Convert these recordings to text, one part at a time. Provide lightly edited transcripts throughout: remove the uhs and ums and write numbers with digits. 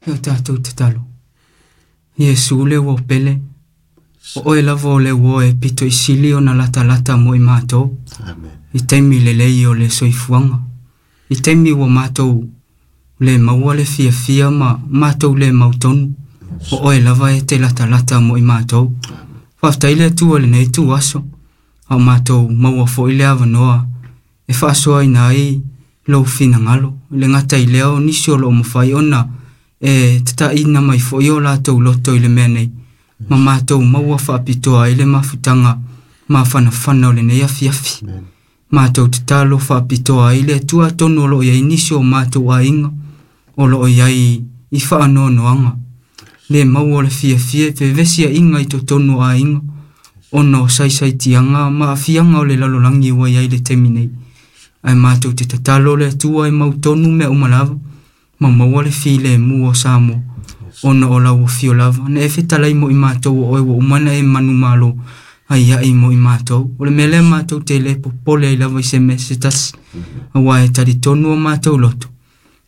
Ia tatou tatalo. Iesu le ua pele, o oe lava o le ua e pito i sili ona latalata mo i matou. Amen. I taimi lelei o le soifuaga. I taimi ua matou le maua le fiafia ma matou le mautonu. O oe lava e te latalata mo i matou. Faafetai le Atua i lenei ituaso, a o matou maua foi le avanoa e faasoaina ai lou finagalo. Le gata i lea o nisi o loo mafai ona e tataina mai foi o latou loto i le mea nei, ma matou maua faapitoa ai le mafutaga mafanafana o lenei afiafi. Matou tatalo faapitoa ai le Atua atonu o loo i ai nisi o matou aiga o loo i ai i faanoanoaga, le maua o le fiafia e fevesiaiga i totonu o aiga, ona o saisaitiaga ma aafiaga o le lalolagi ua i ai le taimi nei. Ae matou te tatalo le Atua e mautonu mea uma lava, ma maua le filemu o Samoa, ona o lau afio lava. Na e fetalai mo i matou o oe ua uma na e manumalo ai ai mo i matou. O le mea lea matou te le popole ai lava i se mea se tasi, aua e talitonu o matou loto,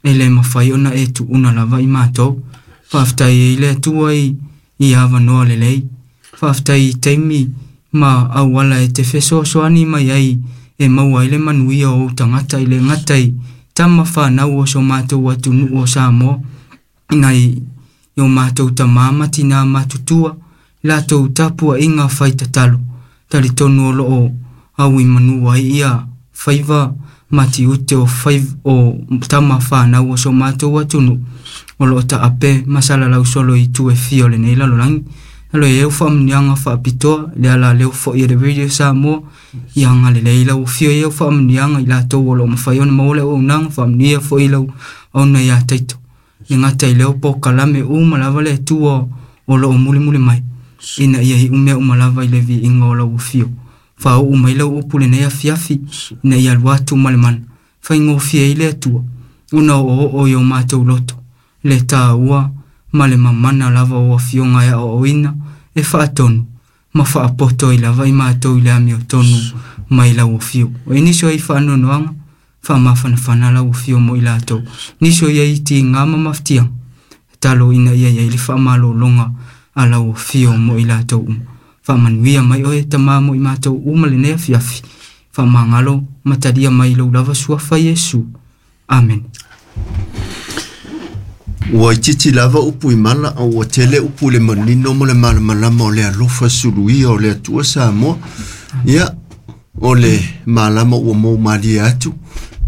e le mafai ona e tuuna lava i matou. Faafetai ai le Atua i avanoa lelei. Faafetai i taimi ma auala e te fesoasoani mai ai e maua ai le manuia o ou tagata i le gata i tama whanau o so mātou atunuu o Samoa, nai i o mātou tamā ma tinā matutua, latou tapuaʻiga fai tatalo, talitonu o loo au i manu ai ia faiva ma tiute o fai o tama whanau o so mātou atunuu, o loo taape ma salalau solo i tu e fia o lenei lalolagi. Alo e au whaamunianga whaapitoa, le ala leo fo i le Radio Samoa, ia agalelei lau afio i au faamanuiaga i latou o loo mafai ona maua le auaunaga, faamanuia foi lau auna iā Taito. Le gata i leo polokalame uma lava le Atua o loo mulimuli mai, ina ia iu mea uma lava i le viiga o lau afio. Faauu mai lau upu lenei afiafi, ina ia alu atu ma le mana. Faigofie ai le Atua, ona o'oo'o i o matou loto, le tāua ma le mamana lava o afioga e aoaoina, e faatonu, ma faapoto ai lava i matou i le amiotonu mai lau afio. O nisi o ai faanoanoaga, faamafanafana lau afio mo i latou. Nisi o iai tiga ma mafatiaga, tatalo ina ia iai le faamalologa a lau afio mo i latou uma. Faamanuia mai oe tamā mo i matou uma lenei afiafi. Faamagalo ma talia mai lou lava suafa Iesu. Amen. Ua itiiti lava upu i mala, a ua tele upu i le manino ma le malamalama o le alofa suluia o le Atua Samoa. Ia, o le malama ua moumalie atu.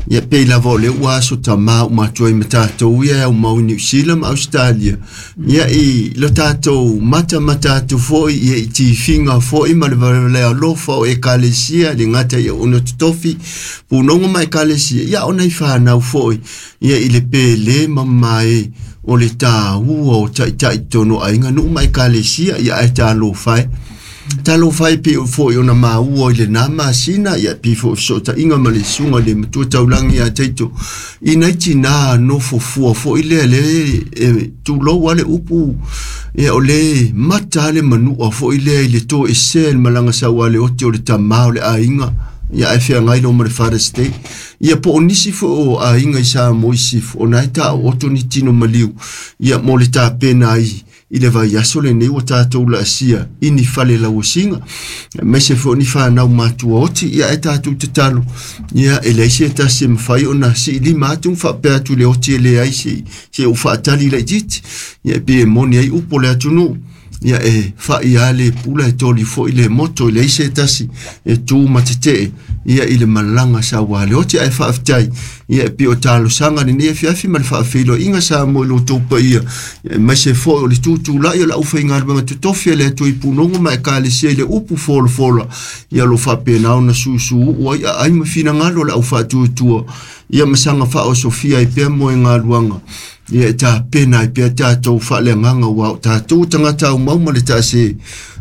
Ia, pei lava o le ua aso tamā uma atu ai ma tatou ia e au mau i Niu Sila ma Ausetalia. Ia, i lo tatou matamata atu foi, ia i tifiga foi ma le valevale alofa o ekalesia, le gata i auauna totofi, punoga ma ekalesia, ia ona i whanau foi, ia i le pele ma mae o le tāua o taitai tonu aiga nuu ma ekalesia, ia ae talofa e. Talofa e pe o foi ona maua i le nā masina, ia pi fo fesootaiga ma le susuga i le matua taulagi ia Taito. I nai tinā nofo fua foi lea le e tulou a le upu, ia o le mata a le manua foi lea i le toesea i le malaga sau a le ote o le tamā o le aiga, ia ae feagai loa ma le Father's Day. Ia po o nisi foi o aiga i Samoa i sisifo, ona e taooto ni tino maliu, ia mo le tapena ai i le vaiaso lenei ua tatou laasia i ni fale lauasiga, aemaise foi o ni whanau matua oti, ia e tatou tatalo, ia e leai se tasi e mafai ona siilima atu ma faapea atu i le oti e leai se ou faatali laitiiti, ia e pei e moni ai upu o le atunuu, ia e fai a le pula e toli foi le moto, e leai se tasi e tu ma tetee, ia i le malaga sau a le oti, ae faafetai, ia e pei o talosaga lenei afiafi ma le faafeiloaiga Samoa i lo outou paia, ia aemaise foi o le tutulai o le aufaigaluega totofi a le Atua i punoga ma ekalesia i le upu folafola, ia o lo o faapena ona susuuu ai aai ma finagalo o le aufaatuatua, ia ma saga faaosofia ai pea moegaluaga, ia e tapena ai pea tatou faaleagaga, ua o tatou tagata aumau ma le taase,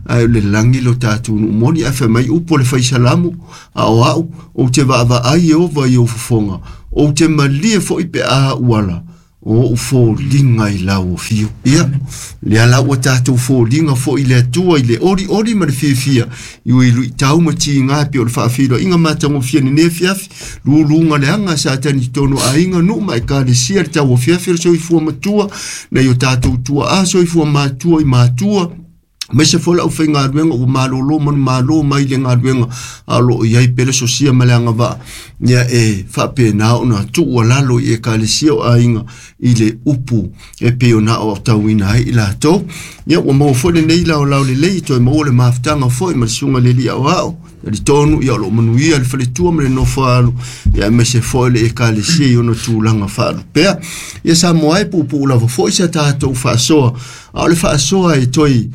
ae o le lagi lo tatou nuu moni, ae fai mai upu o le faisalamu, a o au, ou te vaavaai Ieova i ou fofoga, ou te malie foi pe a uala, O oʻu foliga i lau afio. Ia lea la ua tatou foliga foʻi le Atua i le olioli ma le fiafia i ui luʻitau ma tigā pei o le faafeiloaiga matagofie lenei afiafi luluga leaga sa tani totonu o aiga nuu ma ekalesia le tauafiafi o le soifua matua nai o tatou tuaʻā soifua matua i matua maise foi lau faigaluega ua malōlō manumālō mai le galuega a o loo iai pele sosia ma le agavaa ia e faapena ona tuu alalo i ekalesia o aiga i le upu e pei ona aoaotauina ai i latou. Ia ua maua foi lenei laolao lelei toe maua le mafutaga foi ma le susuga i le alii aoao talitonu ia o loo manuia le faletua ma le nofo alu ia aemaise foi le ekalesia i ona tulaga faalupea. Ia Samoa e puupuu lava foi sa tatou faasoa a o le faasoa e toe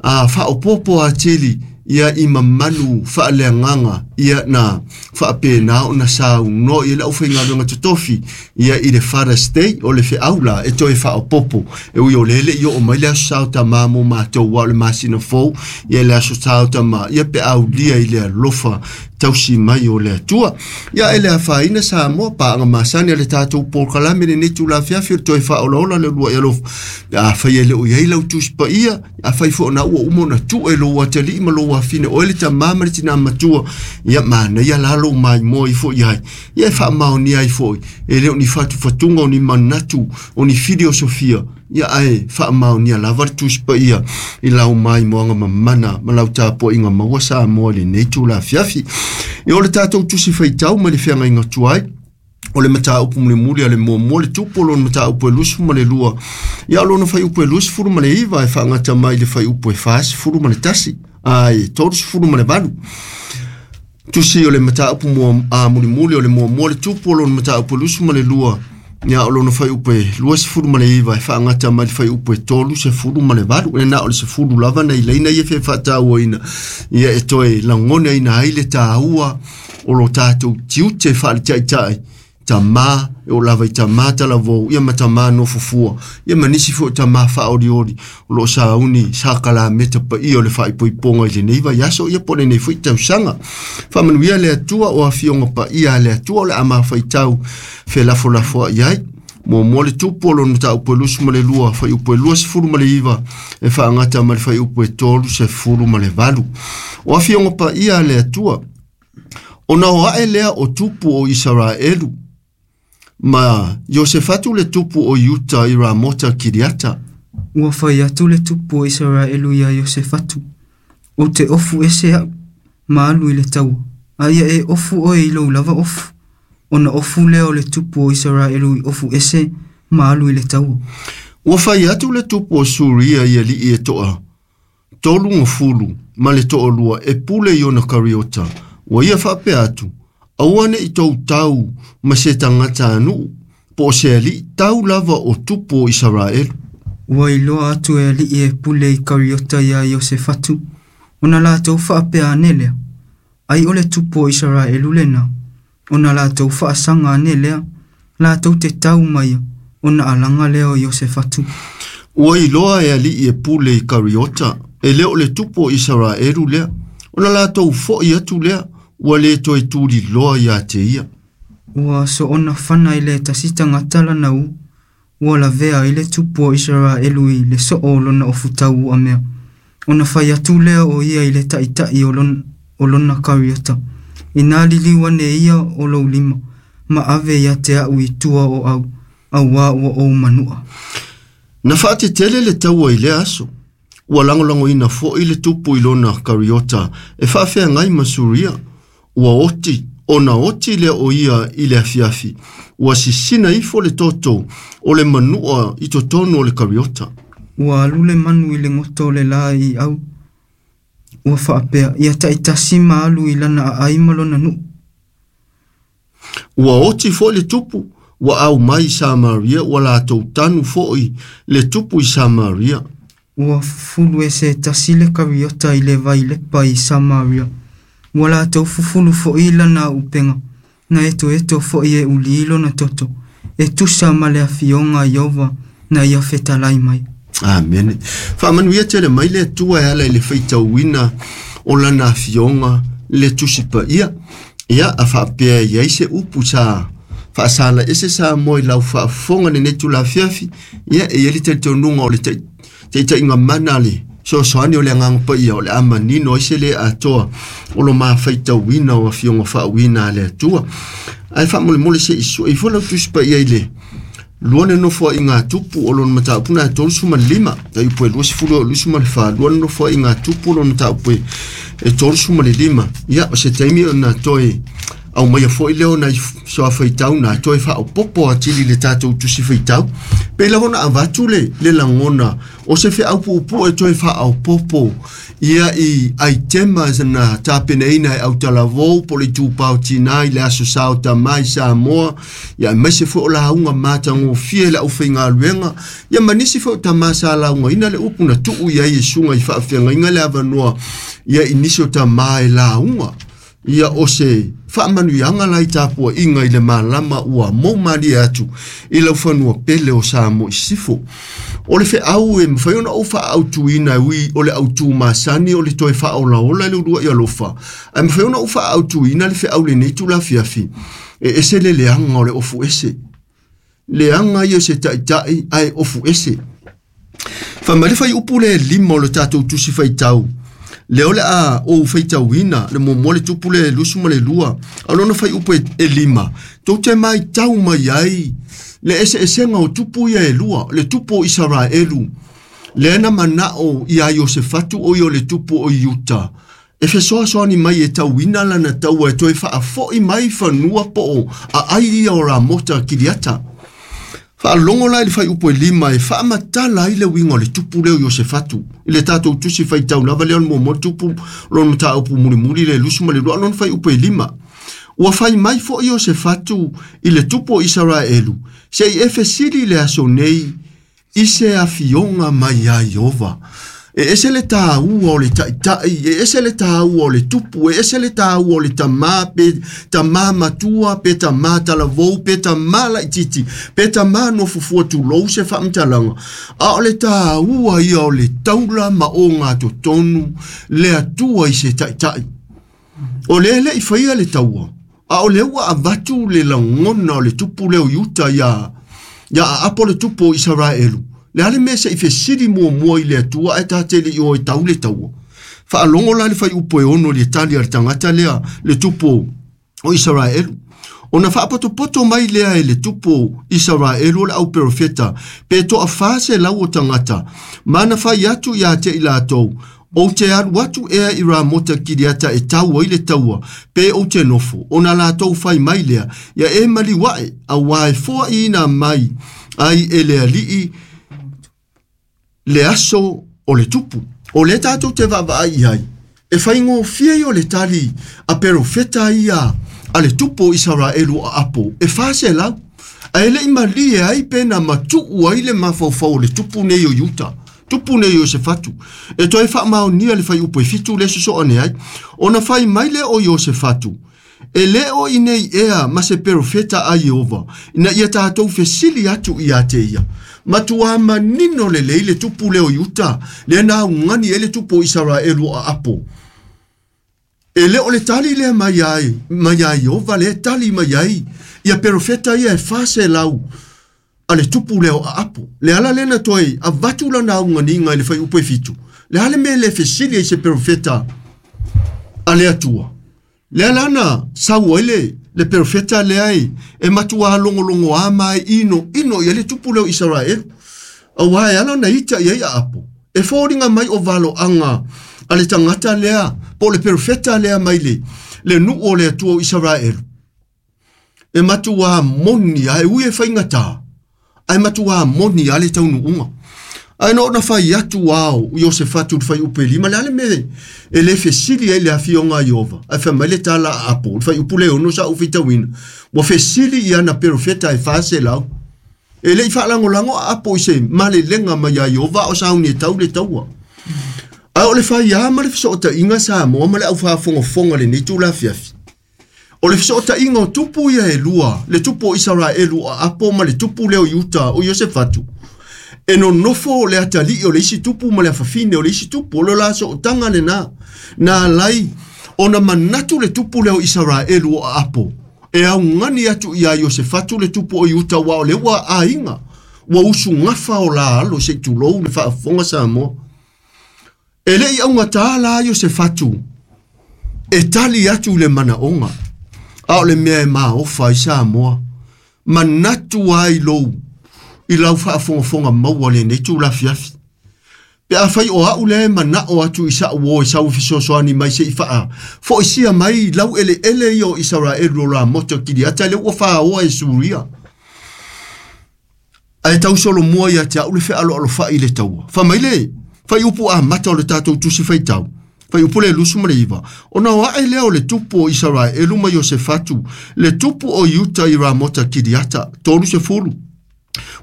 faaopoopo atili ia i mamalu faaleagaga ia na faapena ona saunoa i le aufaigaluega totofi ia i le Father's Day o le feau la e toe faaopoopo e ui o lele i oo mai le aso sao tamā mo matou ua o le masina fou ia le aso sao tamā ia pe aulia i le alofa tausi mai o le Atua. Ia e le afaina Samoa paaga masani a le tatou polokalame lenei tulafiafi o le toe faaolaola le lua i alofa. Afai e le o i ai lau Tusi Paia, afai foi ona ua uma ona tuu e lou atalii ma lou afine oe le tamā ma le tinā matua, ia manaia la lou maimoa ifo i ai. Ia e faamaonia ai foi, e le o ni fatufatuga o ni manatu, o ni filiosofia, ia ae faamaonia lava le Tusi Paia i lau maimoaga mamana ma lau tapuaiga maua Samoa i lenei tulafiafi. Ia o le tatou tusi faitau mai le feagaiga tuai, o le mataupu mulimuli a le muamua le tupu o lona mataupu e 22, ia o lona fuaiupu e 29 e faagata mai i le fuaiupu e 41, ai 38. Tusi o le mataupu mulimuli o le muamua le tupu o lona mataupu e 22, ia o lona fuaiupu e 29 e faagata mai le fuaiupu e 38. E na o le sefulu lava nai laina ia fia faatauaina ia e toe lagonaina ai le tāua o lo tatou tiute faaletaitai tamā e o lava i tamā talavou ia ma tamā nofofua ia ma nisi foi o tamā faaolioli o loo sauni sakalameta paia o le faaipoipoga i lenei vaiaso ia po o lenei foi tausaga. Faamanuia le Atua o afioga paia a le Atua o le a mafaitau felafolafoai ai. Muamua le tupu o lona mataupu e 22, fuaiupu e 29 e faagata ma le fuaiupu e 38. O afioga paia a le Atua, ona o ae lea o tupu o Isaraelu, ma Iosefatu le tupu o Iuta i Ramota Kiriata. Ua fai atu le tupu o Isaraelu iā Iosefatu, ou te ofu ese aʻu, ma alu i le taua, a ia e ofu oe i lou lava ofu. Ona ofu lea o le tupu o Isaraelu i ofu ese ma alu i le taua. Ua fai atu le tupu o Suria i alii e toa tolu gafulu ma le toalua e pule i ona kariota. Ua ia faapea atu, aua neʻi tou tau ma se tagata anuʻu, po o se alii tau lava o tupu o Isaraelu. Ua iloa atu e alii e pule i kariota iā Iosefatu, ona latou faapea ane lea, ai o le tupu o Isaraelu lena, ona latou faasaga ane lea, latou te tau ma ia, ona alaga lea o Iosefatu. Ua iloa e alii e pule i kariota, e le o le tupu o Isaraelu lea, ona latou foʻi atu lea, ua le toe tuliloa iā te ia. Ua soona fana i le tasi tagata lana u, ua lavea ai le tupu o Isaraelu i le soo o lona ofutau uamea. Ona fai atu lea o ia i le taʻitaʻi o lona kariota, inā liliu ane ia o lou lima, ma ave ia te aʻu i tua o au, auā ua ou manuʻa. Na faatetele le taua i lea aso, ua lagolagoina foʻi le tupu i lona kariota e faafeagai ma Suria. Ua oti, ona oti lea o ia i le afiafi, ua sisina ifo le toto o le manuʻa i totonu o le kariota. Ua alu le manu i le goto o le lā i au, ua faapea, ia taʻitasi ma alu i lana aai ma lona nuu. Ua oti foi le tupu, ua au mai i Samaria, ua latou tanu foʻi le tupu i Samaria. Ua fufulu e se tasi le kariota i le vailepa i Samaria. Ua latou fufulu foʻi lana aupega, na etoeto foʻi e ulī lona toto, e tusa ma le afioga a Ieova na ia fetalai mai. Amene. Faamanuia tele mai le Atua e ala i le faitauina o lana afioga le Tusi Paia. Ia a faapea i ai se upu sa Faasala ese Samoa i lau faafofoga lenei tulafiafi, ia e iai le talitonuga o le taitaiga mana le fesoasoani o le agaga paia o le a manino ai se le atoa o lo mafaitauina o afioga faauuina a le Atua. Ae faamolemole se i sue ifo lau tusi paia i le lua le nofoaiga a tupu o lona mataupu na e 35, tai upu e 20 24, lua le nofoaiga a tupu o lona mataupu e 35. Ia, o se taimi ona toe aumaia foi lea o nai soafaitau na toe faaopoopo atili i le tatou tusi faitau. Pei lava ona avatu le, le lagona o se feau puupuu e toe faaopoopo ia i aitema na tapenaina e autalavou po o le itupa o tina i le aso sa o tama i Samoa, ia aemaise foi o lauga matagofie i le aufaigaluega, ia ma nisi foi o tama sa laugaina le upu na tuu i ai e susuga i faafeagaiga le avanoa ia i nisi o tama e lauga. Ia o se faamanuiaga la i tapuaiga i le malama ua mou malie atu i lau fanua pele o Samoa i Sisifo. O le feau e mafai ona ou faaautuina e ui o le autu masani o le toe faaolaola i le uluai alofa, ae mafai ona ou faaautuina le feau lenei tulafiafi, e ese le leaga o le ofu ese. Leaga ia o se taitai ae ofu ese. Fai mai le fuaiupu le 5 o le tatou tusi faitau, lea o le a ou faitauina le muamua le tupu le 22, a o lona fuaiupu e 5, tou te maitau mai ai le eseesega o tupu ia e lua, le tupu o Isaraelu, lea na manao ia Iosefatu o ia o le tupu o Iuta, e fesoasoani mai e tauina lana taua e toe faafoi mai fanua po o aai ia o Ramota Kiriata. Faalogo la i le fuaiupu e 5 e faamatala ai le uiga o le tupu lea o Iosefatu. I le tatou tusi faitau lava lea o le muamua tupu lona mataupu mulimuli le 22 lona fuaiupu e 5. Ua fai mai foi Iosefatu i le tupu o Isaraelu, se i e fesili i le aso nei i se afioga mai ia Ieova. E ese le tāua o le taitai, e ese le tāua o le tupu, e ese le tāua o le tamā, pe tamā matua, pe tamā talavou, pe tamā laititi, pe tamā nofofua tulou se faamatalaga. A o le tāua ia o le taula ma ogatotonu le Atua i se taitai. O lea e le i faia le taua, a o lea ua avatu le lagona o le tupu lea o Iuta ia Aapo le tupu o Isaraelu. Le a le mea se i fesili muamua i le Atua ae ta te le i o e tau le taua. Faalogo la le fuaiupu e 6 i le tali a le tagata lea, le tupu o Isaraelu. Ona faapotopoto mai lea e le tupu o Isaraelu o le auperofeta, pe toa 400 o tagata, ma na fai atu ia te i latou, ou te alu atu ea i Ramota Kiriata e tau ai le taua, pe ou te nofo, ona latou fai mai lea, ia e maliu ae, auā e foaiina mai ai e le alii le aso o le tupu. O lea tatou te vaavaai i ai, e faigofie ia o le tali a perofeta ia a le tupu o Isaraelu o Aapo, e 400, ae le i malie ai pe na matuu ai le mafaufau o le tupu nei o Iuta, tupu nei o Iosefatu, e toe faamaonia le fuaiupu e 7 le sosoane ai, ona fai mai lea o Iosefatu, e le o i nei ea ma se perofeta a Ieova, ina ia tatou fesili atu ia te ia. Matua manino lelei le tupu lea o Iuta, lea na augani ai le tupu o Isaraelu o Aapo. E le o le tali lea mai ai, mai a Ieova lea tali mai ai, ia perofeta ia e 400 a le tupu lea o Aapo. Le ala lea na toe avatu lana auganiga i le fuaiupu e 7. Le a le mea le fesili ai se perofeta a le Atua. Le ala na sau ai le perofeta lea e matua logologoa ma e ino ino ia le tupu lea o Isaraelu. Auā e ala na ita i ai Aapo. E foliga mai o valoaga a le tagata lea, po o le perofeta lea mai le nuu o le Atua o Isaraelu. E matua moni a e ui e faigata, ae matua moni a le taunuuga. Ae na ona fai atu ao Iosefatu le fuaiupu e 5, le a le mea e le fesili ai le afioga a Ieova. Ae fai mai le tala a Apo, le fuaiupu le 6 sa ou faitauina, ua fesili i ana perofeta e 400. E le i faalagolago a Apo i se malelega mai ia Ieova o sauni e tau le taua. Ae o le faiā ma le fesootaiga Samoa ma le aufaafogafoga lenei tulafiafi. O le fesootaiga o tupu ia e lua, le tupu o Isaraelu o Aapo ma le tupu lea o Iuta o Iosefatu, e nonofo le atalii o le isi tupu ma le afafine o le isi tupu, o le la sootaga lena. Na alai ona manatu le tupu lea o Isaraelu o Aapo, E augani atu iā Iosefatu le tupu o Iuta uā o lea ua aiga ua usugafa o la alo seʻi tulou le faafofoga Samoa. E leʻi augatā la Iosefatu e tali atu i le manaʻoga a o le mea e maofa ai Samoa manatu ai lou i lau faafogafoga maua lenei tulafiafi. Pe afai o a'u lea e manaʻo atu i saʻu o e sau fesoasoani mai seʻi faafoʻisia mai lau eleele ia o Isaraelu o Ramota Kiliata lea ua fāoa e Suria. Ae tau solomua ia te a'u le fealoalofaʻi i le taua. Fai mai le faiupu amata o le tatou tusi faitau. Faiupu le 29. Ona o aʻe lea o le tupu o Isaraelu ma Iosefatu, le tupu o Iuta i Ramota Kiliata, 30.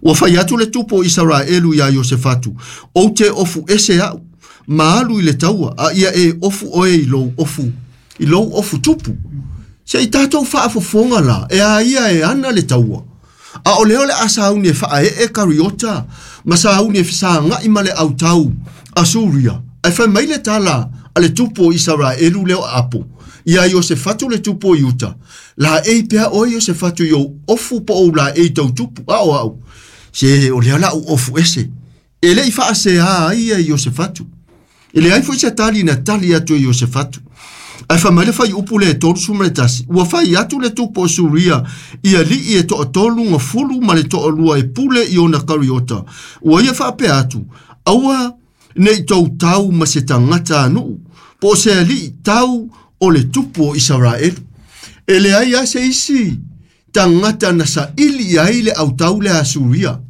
Ua fai atu le tupu o Isaraelu iā Iosefatu, ou te ofu ese a'u, ma alu i le taua, a ia e ofu oe i lou ofu, i lou ofu tupu. Se i tatou faafofoga la, e a ia e ana le taua. A o lea o le a sauni e faaee Kariota, ma sauni e fesagaʻi ma le autau a Suria. Ae fai mai le tala a le tupu o Isaraelu lea o Apo, iā Iosefatu le tupu o Iuta, la ei pea oe Iosefatu i ou ofu po ou la ei tau tupu, a o au. Se o lea la u ofu ese. E leʻi faaseā ai ia Iosefatu. E leai foʻi se tali na tali atu e Iosefatu. Ae fai mai le faiupu le 31, ua fai atu le tupu o Suria i aliʻi e toatolu gafulu ma le toalua e pule i ona Kariota. Ua ia faapea atu, aua nei tou tau ma se tagata anuʻu, po o se aliʻi tau o le tupu o Isaraelu. E leai a se isi tagata na saʻili i ai le autau le a Suria.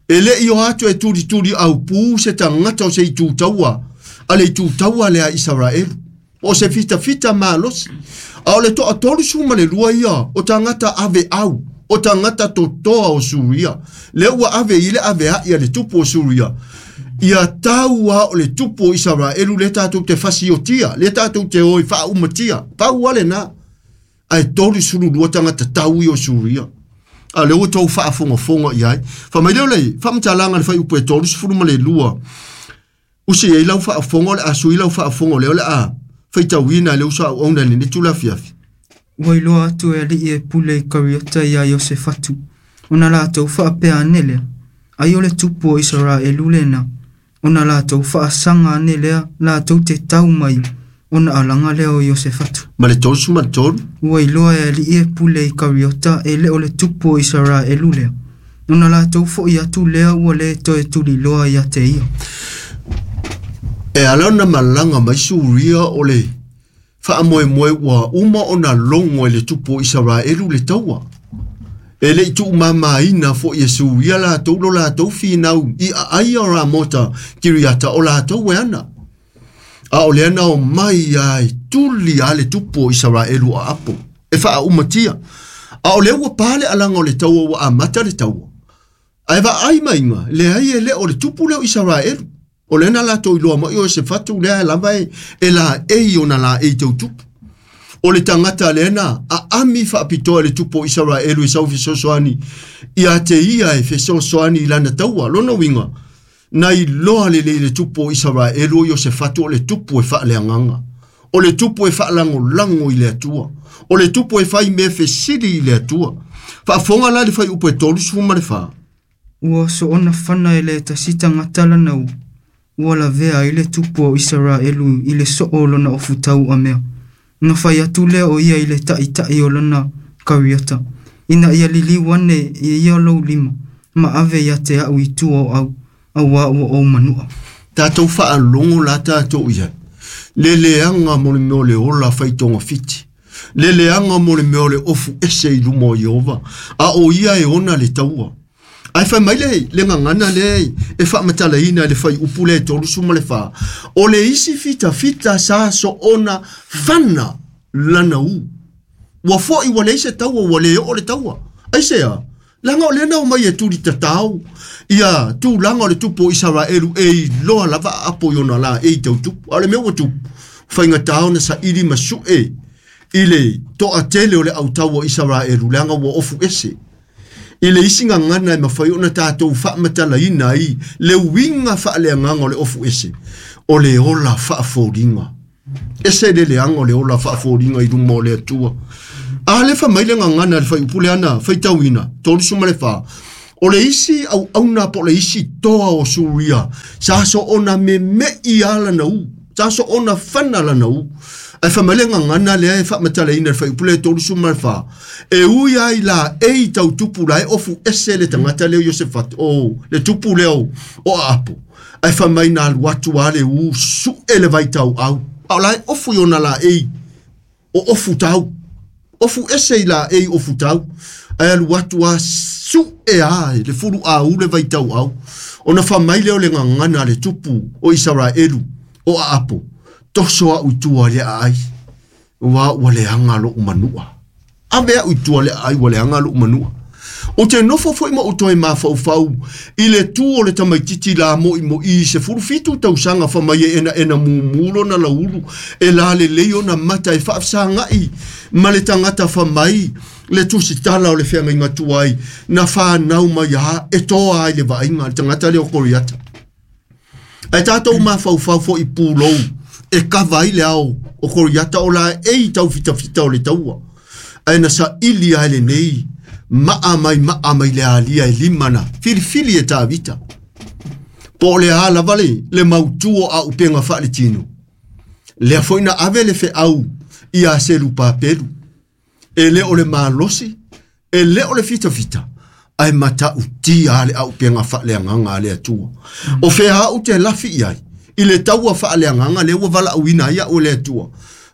E leʻi o atu e tulituli aupū se tagata o se itu taua, a le itu taua le a Isaraelu. O se fitafita malosi. A o le 32 ia o tagata ave au, o tagata totoa o Suria. Lea ua ave i le ave ai a le tupu o Suria. Ia tau a o le tupu o Isaraelu le tatou te fasiotia, le tatou te oi faaumatia. Pau ale na. Ae 32 tagata tau i o Suria. A le ua tou faafogafoga i ai. Fai mai lea o le faamatalaga le faiupu e 32. Usi ai lau faafofoga o le a sui lau faafofoga lea o le a faitauina e le uso auauna i lenei tulafiafi. Ua iloa atu e aliʻi e pule i Kariota iā Iosefatu, ona latou faapea ane lea, ai o le tupu o Isaraelu lena, ona latou faasaga ane lea latou te tau mai ona alaga lea o Iosefatu. Ma le 33. Ua iloa e aliʻi e pule i Kariota e le o le tupu o Isaraelu lea, ona latou foʻi atu lea ua le toe tuliloa ia te ia. E ala ona malaga mai Suria o le faamoemoe ua uma ona logo e le tupu o Isaraelu le taua. E leʻi tuumamaina foʻi e Suria latou lo latou finau i aai o Ramota Kiriata o latou e ana. A o lea na o mai ai tuli a le tupu o Isaraelu o Apo e faaumatia. A o lea ua pa le alaga o le taua ua amata le taua. Ae vaai maiga, leai e le o le tupu lea o Isaraelu. O lea na latou iloa mai o se fatu lea lava e la ei ona la ei tau tupu. O le tagata lea na aami faapitoa e le tupu o Isaraelu e sau fesoasoani ia te ia e fesoasoani i lana taua. Lona uiga, na iloa lelei le tupu o Isaraelu o Iosefatu o le tupu e faaleagaga. O le tupu e faalagolago i le Atua. O le tupu e fai mea fesili i le Atua. Faafofoga la le faiupu e 34. Ua soona fana e le tasi tagata lana u, ua lavea ai le tupu o Isaraelu i le soo o lona ofutau amea. Na fai atu lea o ia i le taʻitaʻi o lona Kariota, ina ia liliu ane i ia lou lima, ma ave ia te a'u i tua o au, auā ua ou manuʻa. Tatou faalogo la tatou i ai. Le leaga mo le mea o le ola faitogafiti. Le leaga mo le mea o le ofu ese i luma o Ieova. A o ia e ona le taua. Ae fai mai le gagana lea e faamatalaina e le faiupu le 34. O le isi fitafita sa soona fana lana u. Ua foʻi ua leai se taua ua le oo le taua. Aisea? Laga o lea na omai e tuli tatao ia tulaga o le tupu o Isaraelu e iloa lava aapo i ona la e i tau tupu. A o le mea ua tupu, faigatā ona saʻili ma suʻe i le toatele o le autau o Isaraelu leaga ua ofu ese. I le isi gagana e mafai ona tatou faamatalaina ai le uiga faaleagaga o le ofu ese, o le ola faafoliga. Ese le leaga o le ola faafoliga i luma o le Atua. A le fa mai le gagana le fuaiupu lea na faitauina 34. O le isi auauna po o le isi toa o Suria, sa soona meme'i a lana u, sa soona fana lana u. Ae fa mai le gagana lea e faamatalaina le fuaiupu lea 34. E ui ai la e i tautupu la e ofu ese le tagata lea o Iosefatu, o le tupu lea o Aapo. Ae fa mai na alu atu a le u su'e le vaitauau. A o la e ofu i ona laei o ofu tau. Ofu ese i laei ofu tau. Ae alu atu a su'e a le fuluau le vaitauau. Ona fa mai lea o le gagana le tupu o Isaraelu o Aapo. Toso a'u i tua le aai. Ua ua leaga lo'u manua. Ave a'u i tua le aai ua leaga lo'u manua. O te nofo foi ma o toe mafaufau i le tu o le tamaititi la mo'i se 17 tausaga fa mai e ena ena mumu lona laulu e la lelei ona mata e faafesaga'i ma le tagata fa mai le tusitala o le feagaiga tuai na whānau mai a e toa ai le vaaiga le tagata lea o Koriata. Ae tatou mafaufau fo'i pulou e kava ai le ao o Koriata o la e i taufitafita o le taua. Ae na sa'ili ai lenei maa mai le alia e lima na filifili e Tavita. Po o le a lava le mautu o auupega faaletino. Lea foi na ave le feau ia Selupapelu. E le o le malosi, e le o le fitafita, ae matautia le auupega faaleagaga a le Atua. O fea au te lafi i ai, i le taua faaleagaga lea ua valaauina ai a'u e le Atua.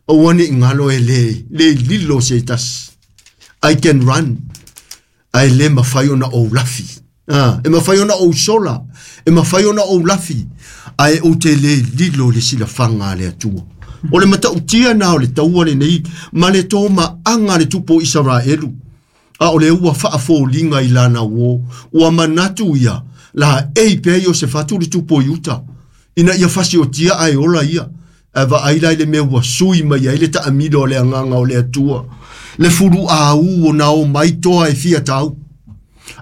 Aua ne i galo e le lilo se tasi. I can run. Ae le mafai ona ou lafi. E mafai ona ou sola. E mafai ona ou lafi. Ae ou te le lilo le silafaga a le Atua. O le matautia na o le taua lenei ma le tomaaga le tupu o Isaraelu. A o le ua faafoliga i lana uō. Ua manatu ia la ei pea Iosefatu le tupu o Iuta. Ina ia fasiotia ae ola ia. Ae vaai la i le mea ua sui mai ai le taamilo o le agaga o le Atua. Le fuluau o na o mai toa e fia tau.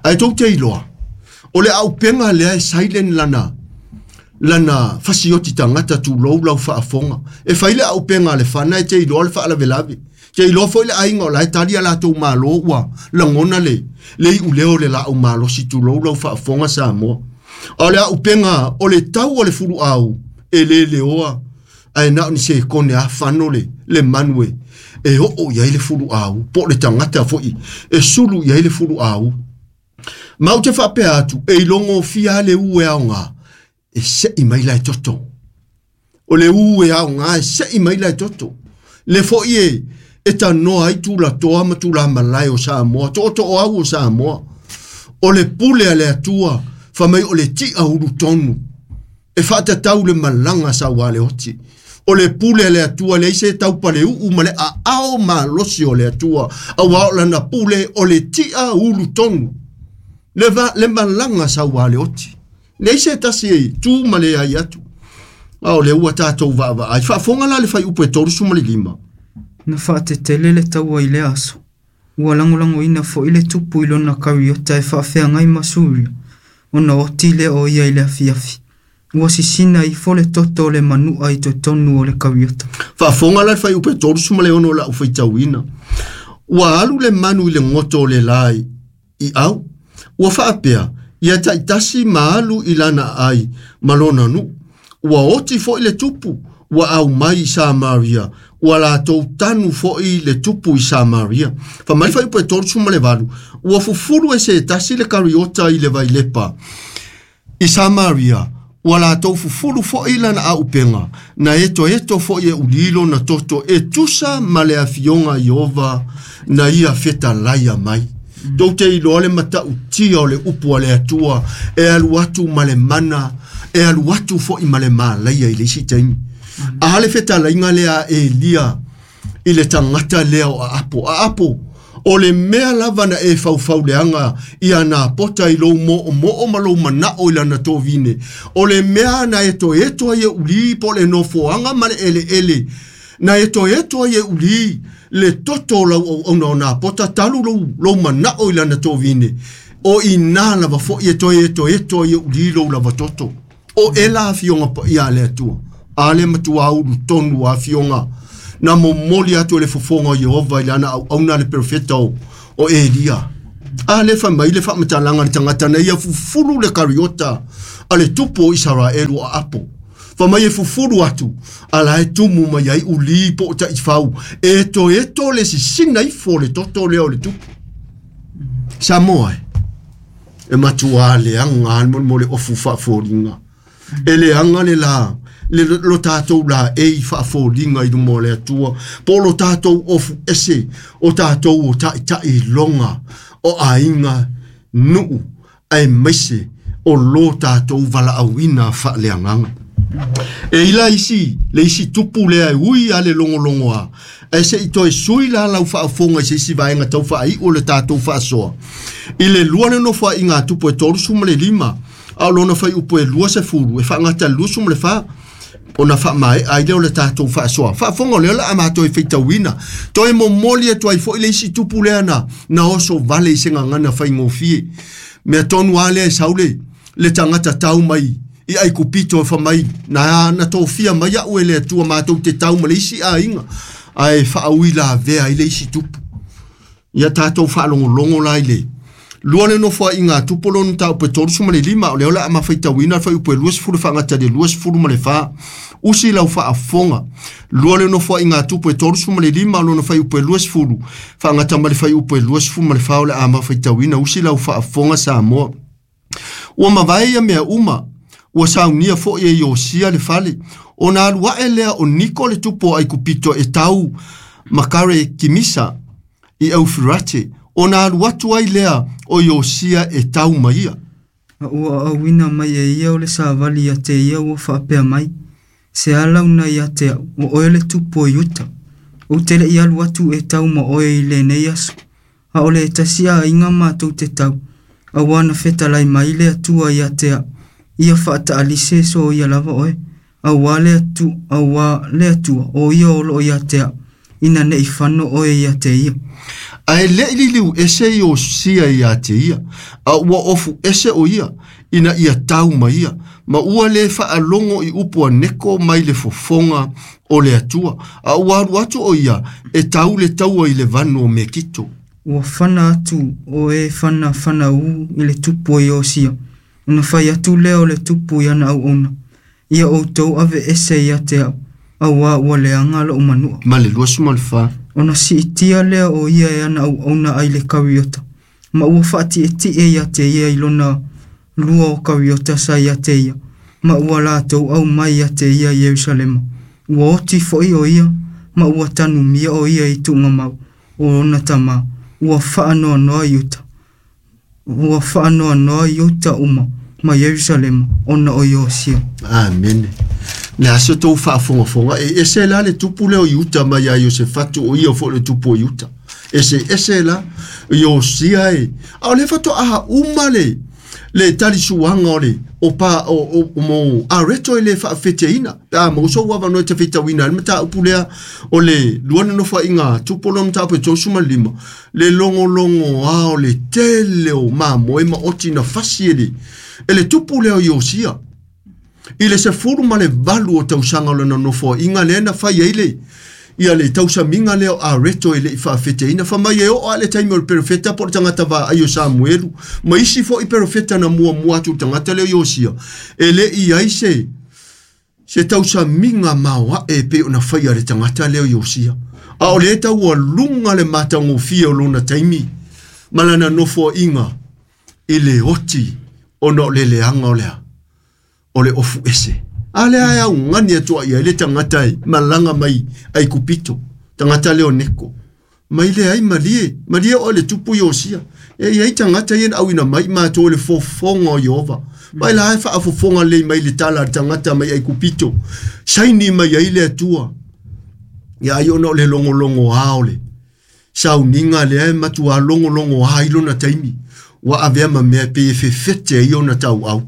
Ae tou te iloa. O le auupega lea e silent lana fasioti tagata tulou lau faafoga. E fai le auupega a le fana e te iloa le faalavelave. Te iloa foi le aiga o la e tali a latou malo ua lagona le iuleo o le laau malosi tulou lau faafoga Samoa. A o le auupega o le tau o le fuluau e le leoa. Ae na o ni se kone a fano le manu e oo i ai le fuluau. Po o le tagata foi e sulu i ai le fuluau. Ma ou te faapea atu e ilogo fia le u e aoga e se'i mai la e toto. O le u e aoga e se'i mai la e toto. Le foi e tanoa ai tulatoa ma tulamalae o Samoa, tootoo au o Samoa. O le pule a le Atua fa mai o le ti'a ulu tonu. E faatatau le malaga sauā le oti. O le pule a le Atua leai se taupaleuu ma le aao malosi o le Atua. Auā o lana pule o le ti'a ulu tonu. Le malaga sauā le oti. Leai se tasi e tu ma le ai atu. A o le ua tatou vaavaai. Faafoga la le fuaiupu e 35. Na faatetele le taua i le aso. Ua lagolagoina foi le tupu i lona kariota e faafeagai ma Suria. Ona oti lea o ia i le afiafi. Ua sisina ifo le toto o le manua i totonu o le kariota. Faafoga la le fuaiupu e 36 la'u faitauina. Ua alu le manu i le goto o le lai i au. Ua faapea, ia taitasi ma alu i lana ai ma lona nuu. Ua oti foi le tupu, ua au mai i Samaria. Ua latou tanu foi le tupu i Samaria. Fa mai fuaiupu e 38, ua fufulu e se tasi le kariota i le vailepa i Samaria. Ua latou fufulu foi lana auupega, na etoeto foi e ulilo na toto e tusa ma le afioga Iova na ia fetalaia mai. Tou te iloa le matautia o le upu a le Atua e alu atu ma le mana, e alu atu foi ma le malaia i le isi taimi. A le fetalaiga lea e Elia i le tagata lea o Aapo. Aapo, o le mea lava na e faufauleaga ia na pota i lou mo'omo'o ma lou mana'o i lana tovine. O le mea na e toeto ai e uli po o le nofoaga ma le eleele. Na e toeto ai e uli le toto o lau auauna o Napota talu lou mana'o i lana tovine. O i nā lava foi e toe etoeto ai e uli lou lava toto. O e la afioga paia a le Atua. A le matua ulu tonu afioga. Na momoli atu e le fofoga o Ieova i lana auauna le perofeta o Elia. A le fai mai le faamatalaga le tagata na ia fufulu le kariota a le tupu o Isaraelu o aapo. Fa mai e fufulu atu, ala e tumu mai ai uli po o taifau, e to le sisina ifo le toto lea o le tupu. Samoa e matua leaga le mo le ofu faafoliga. E leaga le la, le lo tātou la e i faafoliga i luma o le Atua, po lo tātou ofu ese, o tātou o taʻitaʻi loga, o aiga nuu, ae maise o lo tātou valaauina faaleagaga. E ila isi, le isi tupu lea e ui a le logologoa, ae seʻi toe sui la lau faafofoga i se isi vaega tau faaiʻu o le tatou faasoa. I le lua le nofoaʻiga tupu e 35, a o lona faiupu e 20, e faagata le 24, ona faamaeʻa ai lea o le tatou faasoa. Faafofoga o lea o le a matou e faitauina. Toe momoli atu ai foʻi le isi tupu lea na oso vale i se gagana faigofie. Mea tonu a lea e sau le tagata tau mai i Aikupito e famai na tofia mai a'u e le Atua matou te tau ma le isi aiga, ae faaui lavea ai le isi tupu. Ia tatou faalogologo la i le lua le nofoaʻiga tupu lona mataupu e 35, o lea o le a mafaitauina le faiupu e 20 faagata i le 24. Usi lau faafofoga. Lua le nofoaʻiga tupu e 35, lona faiupu e 20 faagata ma le faiupu e 24, o le a mafaitauina. Usi lau faafofoga Samoa. Ua mavae ia mea uma, ua saunia foʻi e Iosia le fale, ona alu aʻe lea o Niko le tupu o Aikupito e tau makare kimisa i Eufirate, ona alu atu ai lea o Iosia e tau maia. A ua auina mai e ia o le savali ia te ia ua faapea mai, se ala una ia te au, o oe le tupu o Iuta. Ou te leʻi alu atu e tau ma oe i lenei aso, a o le tasi aiga matou te tau, auā na fetalai mai le Atua ia te au, ia faataalise so ia lava oe, auā le Atua o ia o loo ia te au, ina nei fano oe ia te ia. Ae leʻi liliu ese Iosia ia te ia, a ua ofu ese o ia, ina ia tau mai ia, ma ua le faalogo i upu a Neko mai le fofoga o le Atua, a ua alu atu o ia e tau le taua i le vanu o Mekito. Ua fana atu o e fana fana u i le tupu o Iosia, ona fai atu lea o le tupu i ana auauna, ia outou ave ese ia te au, auā ua leaga loʻu manua. Ma le 24. Ona siitia lea o ia e ana auauna ai le kariota, ma ua faatietie ia te ia i lona lua o kariota sa ia te ia, ma ua latou au mai ia te ia i Ierusalema. Ua oti foʻi o ia, ma ua tanumia o ia i tuugamau o ona tamā, ua faanoanoa Iuta. Ua faanoanoa Iuta uma ma Ierusalema ona o Iosia. Amene. Le aso tou faafogafoga e ese la le tupu lea o Iuta mai ia Iosefatu o ia foʻi le tupu o Iuta. Ese ese la Iosia e. A o le faatoa uma le talisuaga o le o pa o mo areto e le faafeteina. Pe a mo so ua no te feitauina le mataupu lea o le lua na nofoaiga tupu lona mataupu e 35, le logologo a o le tele o mamoe ma oti na fasi e le tupu lea o Iosia. I le 18 o tausaga o lona nofoaiga lea na fai ai le ia le tausamiga lea o areto e leʻi faafeteina. Fa mai e oo a le taimi o le perofeta po o le tagata vaai o Samuelu, ma isi foʻi perofeta na muamua atu le tagata lea o Iosia, e leʻi ai se tausamiga maoaʻe e pei ona faia le tagata lea o Iosia. A o le taualuga le matagofie o lona taimi ma lana nofoaiga i le oti ona o le leaga o lea o le ofu ese. A lea e augani atu ai le tagata e malaga mai Aikupito, tagata lea o Neko. Mai le ai malie, malie o le tupu Iosia. E iai tagata ia na auina mai matou le fofoga o Ieova. Mai la e faafofoga lelei mai le tala a le tagata mai Aikupito. Saini mai ai le Atua. Ia ai ona o le logologoa o le sauniga lea e matuā logologoa ai lona taimi. Ua avea ma mea pe e fefete ai ona tauau.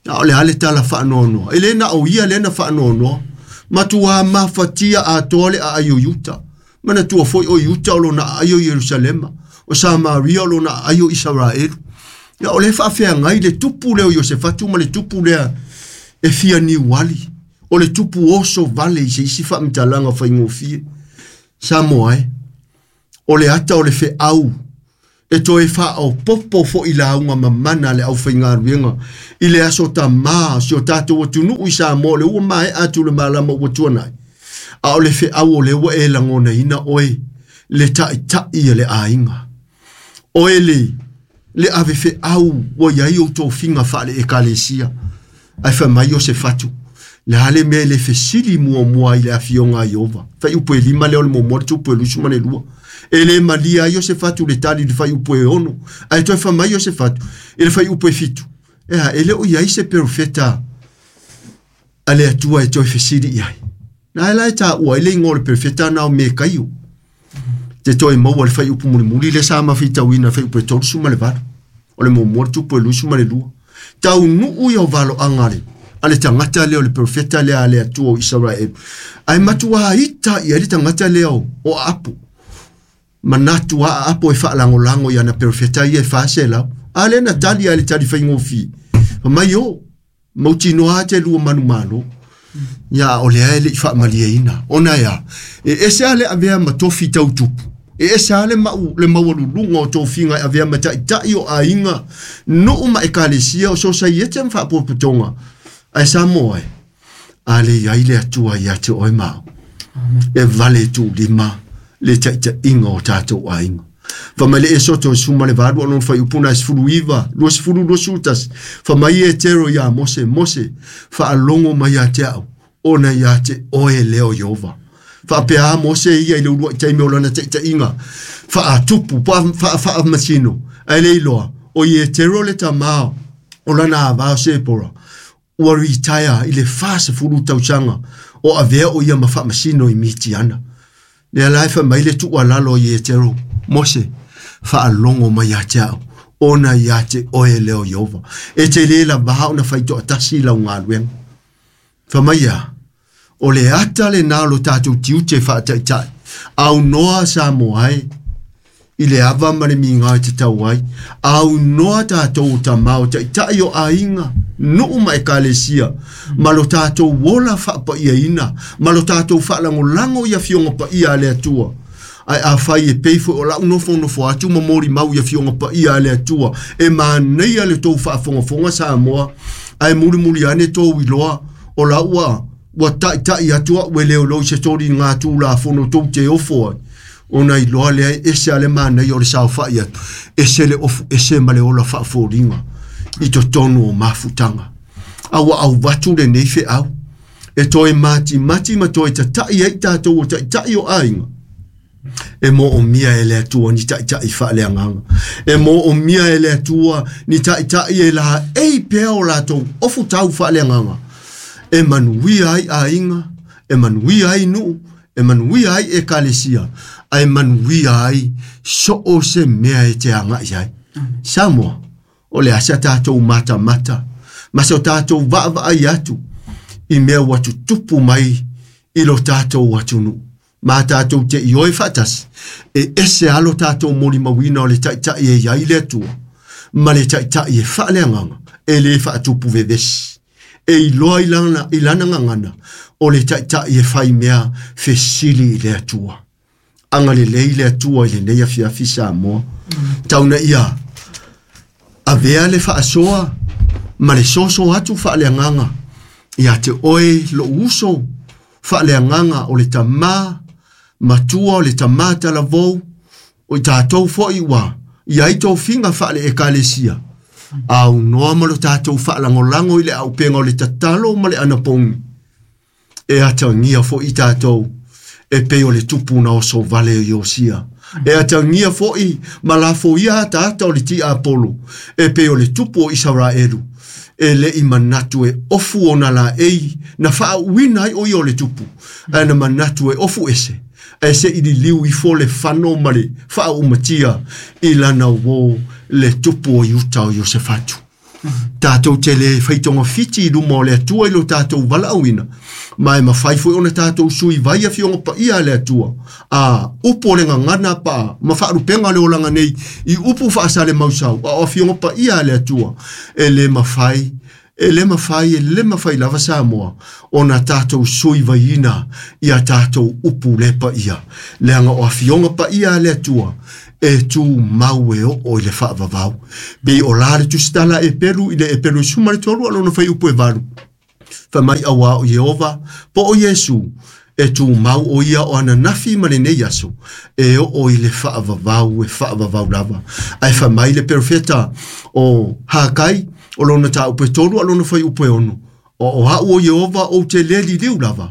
A o le a le tala faanoanoa. E le na o ia lea na faanoanoa. Matuā mafatia atoa le aai o Iuta. Manatua foi o Iuta o lona aai o Ierusalema. O Samaria o lona aai o Isaraelu. Ia o le faafeagai le tupu lea o Iosefatu ma le tupu lea e fia niuali. O le tupu oso vale i se isi faamatalaga faigofie. Samoa e, o le ata o le feau, e toe faaopopo fo'i lauga mamana a le aufaigaluega i le aso tamā si o tatou atunuu i Samoa o le ua maea atu le malama ua tuanai, a o le feau o lea ua e lagonaina oe le taʻitaʻi a le aiga. Oe le ave feau ua iai ou tofiga faale ekalesia, ae fai mai o se fatu, le a le mea e le fesili muamua i le afioga a Ieova. Faiupu e 5 lea o le muamua le tupu e 22. E le malia ai o se fatu le tali i le faiupu e 6, ae toe fai mai o se fatu i le faiupu e 7. Ea, e le o iai se perofeta a le Atua e toe fesili i ai. Na e la e tāua ai le igoa o le perofeta na o Mekaio. Te toe maua le faiupu mulimuli le sa mafitauina faiupu e 38. O le muamua le tupu e 22. Taunuu ia o valoaga a le tagata lea o le perofeta lea a le Atua o Isaraelu. Ae matua ita i ai le tagata lea o Aapo. Manatu a Aapo e faalagolago i ana perofeta ia e 400. A lea na tali ai le tali faigofie. Fai mai o, mautinoa te lua manumalo. Ia o lea e le i faamalieina. Ona ea, e ese a le avea ma tofi tautupu. E ese a le maualuluga o tofiga e avea ma taʻitaʻi o aiga, nuu ma ekalesia o sosaiete ma faapotopotoga. Ae Samoa e, a le iai le Atua ia te oe ma au. E vale tuulima le taʻitaʻiga o tatou aiga. Fai mai le Esoto e 18 o lona faiupu na e 19, 20, 21. Fai mai e Tero iā Mose, Mose, faalogo mai ia te au, ona ia te oe lea o Ieova. Faapea Mose ia i le uluai taimi o lana taʻitaʻiga, faatupu, faamasino, ae le iloa, o Ietero le tamā o lana avā o Sepora, ua retire i le 40 tausaga o avea o ia ma faamasino i Mitiana. Lea la e fai mai le tuualalo o Ietero, Mose, faalogo mai ia te au, ona ia te oe lea o Ieova. E te lē lavā ona faitoatasi lau galuega. Fai mai ia, o le ata lenā o lo tatou tiute faataʻitaʻi, aunoa Samoa e, i le ava ma le miga e tatau ai, aunoa tatou o tamā o taʻitaʻi o aiga, nuu ma ekalesia, ma lo tatou ola faapaiaina, ma lo tatou faalagolago i afioga paia a le Atua. Ae afai e pei foi o lau nofonofo atu ma molimau i afioga paia a le Atua, e manaia le tou faafogafoga Samoa, ae mulimuli ane tou iloa o lau ua taʻitaʻi atu a'u e leoleo i se toli gā tulafono tou te ofo ai. Ona iloa lea e ese a le manaia o le saofaʻi atu, ese le ofu ese ma le ola faafoliga i totonu o mafutaga. A ua auvatu lenei feau, e toe matimati ma toe tataʻi ai tatou o taʻitaʻi o aiga. E moomia e le Atua ni taʻitaʻi faaleagaga. E moomia e le Atua ni taʻitaʻi e laei pea o latou ofutau faaleagaga. E manuia ai aiga, e manuia ai nuu, e manuia ai ekalesia, ae manuia ai so o se mea e te agaʻi ai. Samoa, o le a sa tatou matamata, ma so tatou vaavaai atu i mea ua tutupu mai i lo tatou atunuu. Ma tatou te ioe faatasi, e ese a lo tatou molimauina o le taʻitaʻi e iai le Atua, ma le taʻitaʻi e faaleagaga, e lē faatupu vevesi. E iloa i lana gagana, o le taʻitaʻi e fai mea fesili i le Atua. Agalelei le Atua i lenei afiafi Samoa. Tauna ia, avea le faasoa ma le soso atu faaleagaga ia te oe lou uso faaleagaga o le tamā matua o le tamā talavou, o i tatou foʻi ua iai tofiga faale ekalesia. Aunoa ma lo tatou faalagolago i le aupega o le tatalo ma le anapogi. E atagia foʻi tatou e pei o le tupu na oso vale o Iosia. E atagia foʻi ma lafoia ataata o le tiapolo e pei o le tupu o Isaraelu. E leʻi manatu e ofu ona laei na faauuina ai o ia o le tupu. Ae na manatu e ofu ese, ae seʻi liliu ifo le fano ma le faaumatia i lana uō le tupu o Iuta o Iosefatu. Tatou te le faitogafiti i luma o le Atua i lo tatou valaauina, ma e mafai foi ona tatou sui vai afioga paia a le Atua. A upu o le gagana pa ma faalupega le olaga nei i upu faasale mausau, a o afioga paia a le Atua, e le mafai E le mafai, e le mafai lava Samoa ona tatou sui vaiina ia tatou upu le paia. Leaga o afioga paia a le Atua e tumau e oo i le faavavau. Pei o la le tusitala e pelu i le e pelu suma le tolu alona fai upu e valu. Fai mai auā o Ieova po o Iesu e tumau o ia o ananafi ma lenei aso e oo i le faavavau e faavavau lava. Ae fai mai le perofeta o Hakai o lona tāupu e tolu a lona fai upu e ono. O au o Ieova ou te le liliu lava,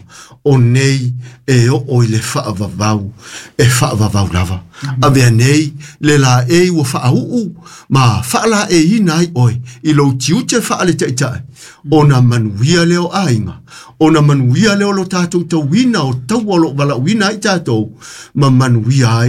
o nei e oo i le faavavau, e faavavau lava. Avea nei le laei ua faauu ma faalaeiina ai oe i lou tiute faaletaitai, ona manuia lea o aiga, ona manuia lea o lo tatou tauina o taua o lo o valaauina ai tatou, ma manuia ai